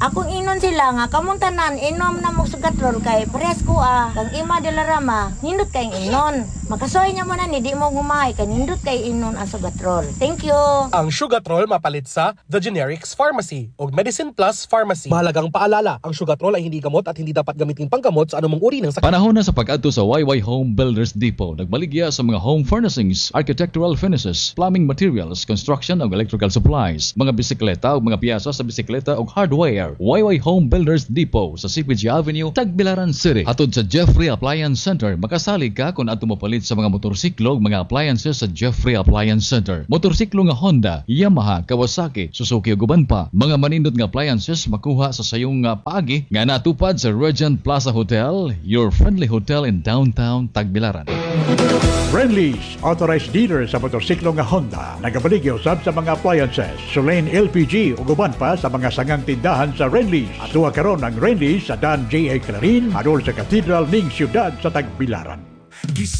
Akong ingnon sila nga kamong tanan inom na mo Sugatrol kay presko ah. Kang Ima de la Rama, nindot kay ingnon. Makasuhay niya mo na ni di mo gumahay kay nindot kay ingnon ang Sugatrol. Thank you. Ang Sugatrol mapalit sa The Generics Pharmacy o Medicine Plus Pharmacy. Mahalagang paalala, ang Sugatrol ay hindi gamot at hindi dapat gamitin panggamot sa anumang uri ng sakit. Panahon na sa pag-adto sa YY Home Builders Depot. Nagbaligya sa mga home furnishings, architectural finishes, plumbing materials, construction ug electrical supplies, mga bisikleta ug mga piyasa sa bisikleta ug hardware. YY Home Builders Depot sa CPG Avenue, Tagbilaran City. Hatod sa Jeffrey Appliance Center, makasalig ka kung adto mopalit sa mga motorsiklo ug mga appliances sa Jeffrey Appliance Center. Motorsiklo nga Honda, Yamaha, Kawasaki, Suzuki ug uban pa. Mga manindot nga appliances makuha sa sayong nga paagi nga natupad sa Regent Plaza Hotel, your friendly hotel in downtown Tagbilaran. Friendlies, authorized dealer sa motorsiklo nga Honda. Nagabaligya usab sa mga appliances, Solane LPG ug uban pa sa mga sangang tindahan sa Renly's. Atua karon ang Renly's sa Dan J.A. Clarin, adol sa Cathedral ning siyudad sa Tagbilaran.